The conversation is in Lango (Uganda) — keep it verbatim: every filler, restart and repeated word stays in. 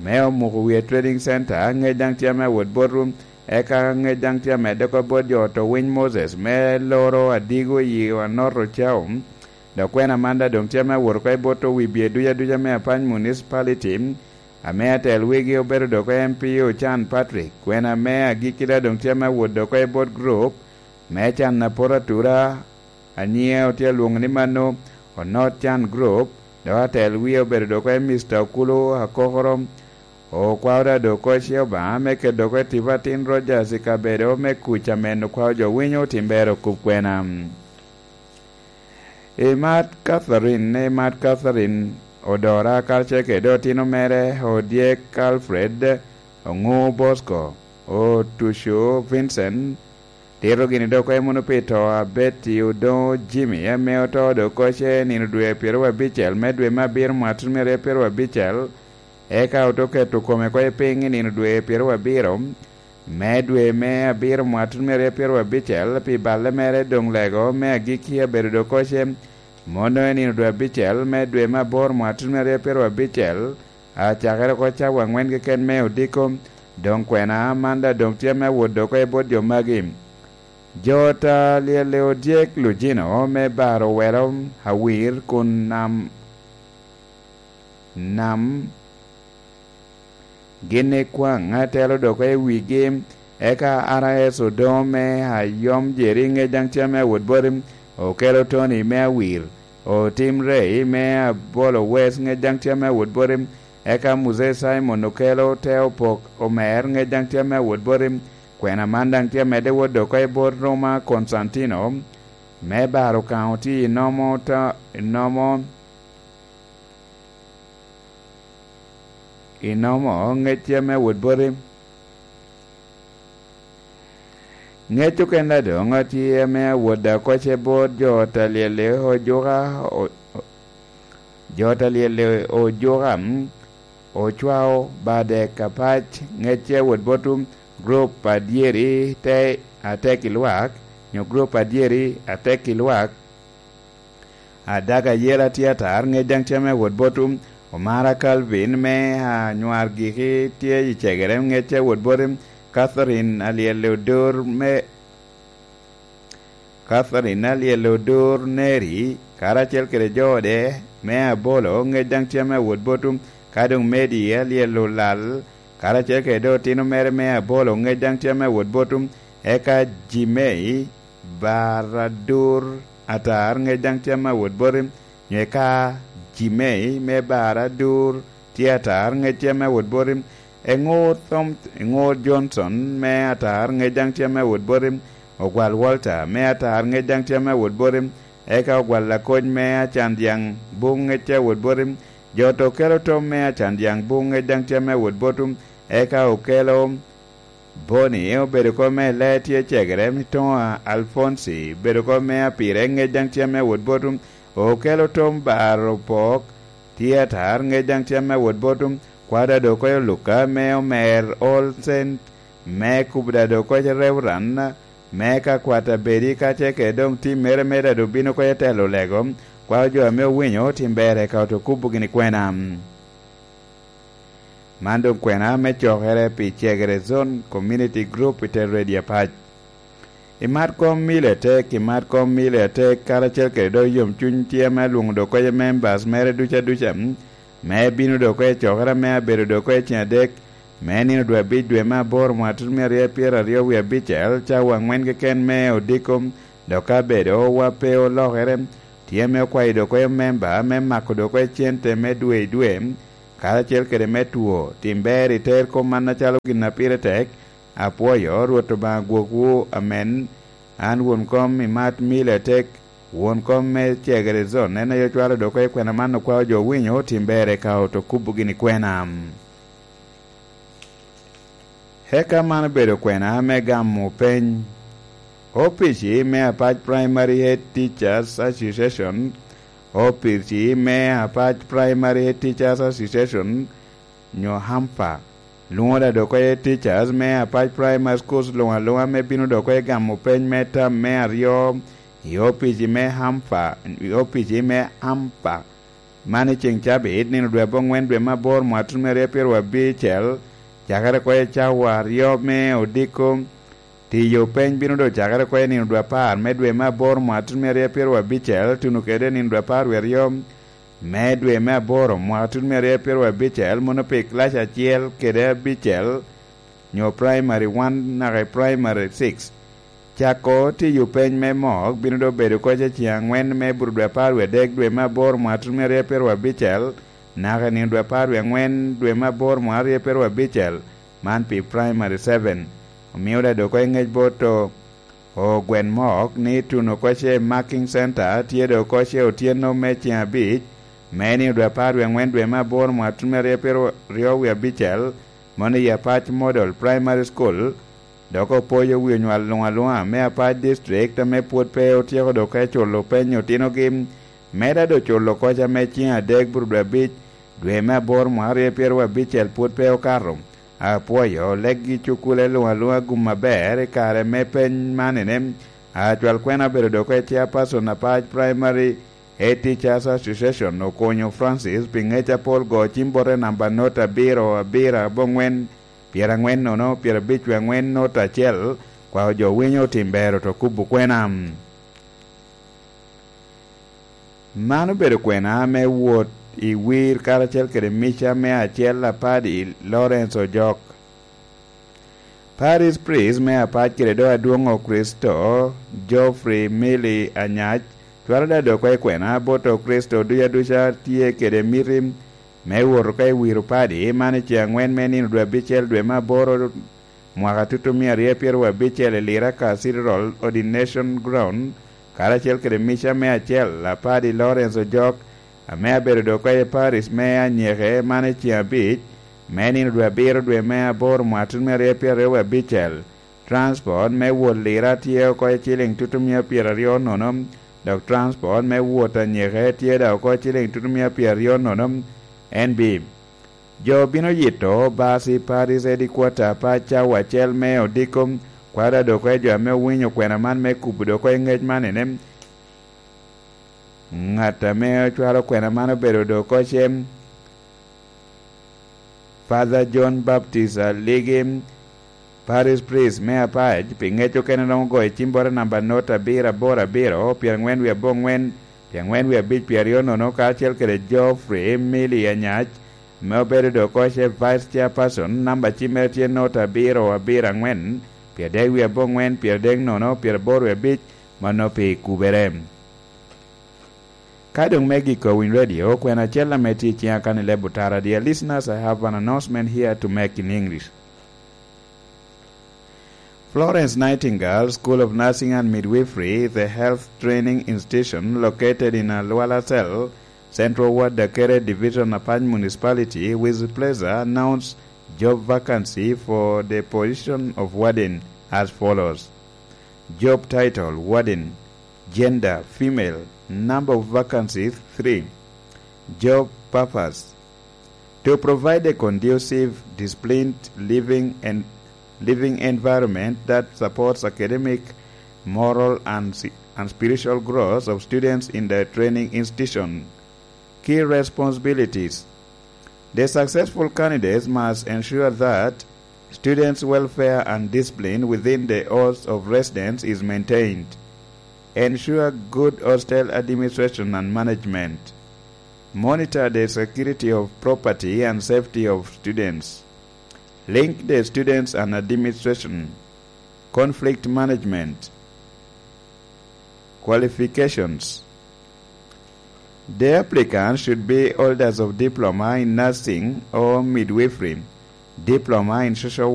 me Omuko Wiye Trading Center, ŋec daŋ tye ame awot botwu, eka ŋec daŋ tye amedde oko bot jo oto winy Moses, me loro Adigo i Anot Ocao. Dok kwena man daŋ doŋ tye ame awot oko i bot owibye duc aduca me Apany Municipality, ame atel wigi obedo dok oko M P Ocan Patrick. Kwena me agikki daŋ doŋ tye ame awot dok oko i bot group me can apot atura, a nyiŋe otye alwoŋo ni mano Onot Can Group, dok atel wie obedo dok oko i Mister Okulu Akokoro. Okwao daŋ dok oko ce Obaŋa me keto dok oko i tipo atin Rogers i kabedo me kuc amen okwao jo winyo otimbere okup kwena. Imat Catherine, Imat Catherine Odora, karacel kede otino mere Odyek Alfred, Oŋu Bosco, Otuco Vincent, tito gini dok oko i muno pi to a Betty Odoŋo Jimmy, ame oto dok oko ce nino dwe pyeraryo abicel me dwe me abiro mwaka tutumia aryo pyeraryo abicel, eka oto keto kome oko i piny i nino dwe pyeraryo abiro me dwe me abiro mwaka tutumia aryo pyeraryo abicel, pi balle mere doŋ lego me agikki abedo dok oko ce. Mono i nino dwe abicel me dwe me aboro mwaka tutumia aryo pyeraryo abicel, acakere oko cawa aŋwen keken me odiko. Doŋ kwena man daŋ doŋ tye me awot dok oko i bot jo magi. Jo ta lyelle Odyek Lujino me baro welo Awir kun nam, nam gin i kwaŋ atelo dok oko i wigi, eka R S Odoŋo me Ayom Jeri ŋec daŋ tye me awot boti, okelo Tony me Awir, Otim Rei me Abolo West ŋec daŋ tye me awot boti, eka Muse Simon okelo Te Opok Omer ŋec daŋ tye me awot boti. Kwena man daŋ tye amedde wot dok oko i bot Roma Konstantino me baro Kaŋo tye i nomo ta-, i nomo, i nomo ŋec tye me awot boti. Ŋec okene doŋ tye ame awot daŋ oko ce bot jo ta lyelle Ojuka, o-, o-, jo ta lyelle Ojuka, mm, ocwao bade Kapac, ŋec ce awot botwu, grup adyeri te atek i lwak, nyo grup adyeri atek i lwak. Adaga Yela tye atar, ŋec daŋ tye ame awot botwu. Omara Calvin me Anywar Giki tye i Cegere, ŋec tye awot boti. Catherine Alyel Odur me, Catherine Alyel Odur Neri, karacel kede jo ode me Abolo, ŋec daŋ tye ame awot botwu. Ka doŋ Medi Alyel Olal, karacel kede otino mere me Abolo, ŋec daŋ tye ame awot botwu. Eka Jimei, Baradur atar, ŋec daŋ tye ame awot boti, nyo eka Jimei me Baradur tye atar, ŋec tye ame awot boti, Eŋur Thom-, Eŋur Johnson me atar, ŋec daŋ tye ame awot boti, Ogwal Walter me atar, ŋec daŋ tye ame awot boti, eka Ogwal Lakoc me Acan Dyaŋ Buŋ, ŋec tye awot boti, jo to okelo Tom me Acan Dyaŋ Buŋ, ŋec daŋ tye ame awot botwu, eka okelo Boni obedo oko me Lee tye Cegere, Mitoŋa Alfonsi obedo oko me Apire, ŋec daŋ tye ame awot botwu. Okelo Tom Baro Pok tye atar, ŋec daŋ tye ame awot botwu. Kwada dok oko Luka me Omer Olsen, me kubo da dok oko Reuran, me ka kwata bedi ka ce kede doŋ tim mere me da dok bino oko i telo lego, kwa jo ame owinyo tim bere ka oto kubo gini kwena. Man doŋ kwena me cokere pi Cegere Zone Community Group i Tel Redi Apac. I mat kom mili atek, i mat kom mili atek, karacel kede dok yomcuny tye ame alwoŋo dok oko members mere duca duca, me bino dok oko i cokere ame abedo dok oko i ceng adek, me nino dwe abic dwe me aboro mwaka tutumia aryo pyeraryo wie abicel, cawa aŋwen keken me odiko, dok ka bedo wa pe olokere, tye ame okwayo dok oko memba me mako dok oko cente me dwe i dwe, karacel kede me two. Tim ber iter kop man acalo gin a pire tek. Apwoyo Rwot Obaŋa gwokwu. Amen. An won kom i mat mili atek, won kom me Cegere Zone, en aye ocwalo dok oko i kwena man okwao jo owinyo, tim ber eka oto kubo gini kwena. Eka man obedo kwena me gamo peny. Opici me Apac Primary Head Teachers Association, opici me Apac Primary Head Teachers Association, nyo hampa, lwoŋo da dok oko teachers me Apac Primary Schools luŋ aluŋa me bino dok oko gamo peny me tam me aryo i opici me hampa, i opici me hampa. Man i ceŋ cabit, nino dwe aboŋwen dwe me aboro mwaka tutumia aryo pyeraryo abicel, cakere oko i cawa aryo me odiko. Tiyo peny bino doŋ cakere oko i nino dwe apar me dwe me aboro mwaka tutumia aryo pyeraryo abicel, tuno kede nino dwe apar wie aryo me dwe me aboro mwaka tutumia aryo pyeraryo abicel, mono pi kilaci acel kede abicel, nyo primary one naka i primary six. Cako tiyo peny me mok bino doŋ bedo oko i ceŋ angwen me bur dwe apar wie adek dwe me aboro mwaka tutumia aryo pyeraryo abicel, naka i nino dwe apar wie angwen dwe me aboro mwaka aryo pyeraryo abicel, man pi primary seven. Omio daŋ doŋ oko i ŋec bot o gwen mok ni tuno oko i marking center tye doŋ oko i otyeno me ceŋ abic, me nino dwe apar wie angwen dwe me aboro mwaka tutumia aryo pyeraryo wie abicel, mono i Apac Model Primary School. Dok opoyo wi onywal luŋ aluŋa me Apac District ame pwod pe otyeko doŋ oko i culo peny otinogi, me daŋ doŋ culo oko ame ceŋ adek bur dwe abic dwe me aboro mwaka aryo pyeraryo abicel pwod pe okato. Apwoyo leggi cukule luŋ aluŋa gum aber i kare me peny man ene. Acwal kwena obedo doŋ oko i chairperson Apac Primary Head Teachers Association, Okonyo Francis, pi ŋec apol go cim bote namba not abiro abiro aboŋwen pyerangwen nono pyerabic wie angwen not acel. Kwao jo winyo otim ber oto kubo kwena. Man obedo kwena me wot i wir karacel kede mica me acel apadi Lawrence Ojok. Parish Priest me Apac kede doŋ adwoŋ Okricito, Geoffrey Milly Anyac, cwalo daŋ doŋ oko i kwena bot Okricito duc aduca tye kede miti me wot oko i wiro padi man i ceŋ angwen me nino dwe abicel dwe me aboro mwaka tutumia aryo pyeraryo abicel i Lira ka Cathedral Ordination Ground, karacel kede mica me acel apadi Lawrence Ojok, ame abedo doŋ oko i Paris me Anyeke man i ceŋ abic me nino dwe abiro dwe me aboro mwaka tutumia aryo pyeraryo abicel. Transport me wot Lira tye oko i ciliŋ tutumia pyeraryo nono, dok transport me wot Anyeke tye daŋ oko i ciliŋ tutumia pyeraryo nono. N B. Jo bino yito bas i Paris Headquarter pa cawa acel me odiko. Kwaro adoko i jo ame owinyo kwena man me kubo doko i ŋec man ene. Ŋat ame ocwalo kwena man obedo doko cem, Father John Baptist Aligi, Parish Priest me Apac, pi ŋec okene romo goyo cim bote namba not abiro aboro abiro, pyerangwen wie aboŋwen, pyerangwen wie abic, pyeraryo nono, karacel kede Geoffrey Milly Anyac, ame obedo doŋ oko ce Vice Chairperson, namba cimmere tye not abiro abiro angwen, pyeradek wie aboŋwen, pyeradek nono, pyeraboro wie abic, mano pi kubere. Ka doŋ me giko Winy Radio, kwena acel ame tye i ciŋa kan i leb otara, dear listeners, I have an announcement here to make in English. Florence Nightingale School of Nursing and Midwifery is a health training institution located in Alwala Cell, Central Ward, Dakere Division, Apac Municipality, with pleasure announce job vacancy for the position of warden as follows. Job title, warden. Gender, female. Number of vacancies, three. Job purpose. To provide a conducive, disciplined living and living environment that supports academic, moral, and, si- and spiritual growth of students in the training institution. Key responsibilities. The successful candidates must ensure that students' welfare and discipline within the halls of residence is maintained. Ensure good hostel administration and management. Monitor the security of property and safety of students. Link the students and administration. Conflict management. Qualifications. The applicant should be holders of diploma in nursing or midwifery, diploma in social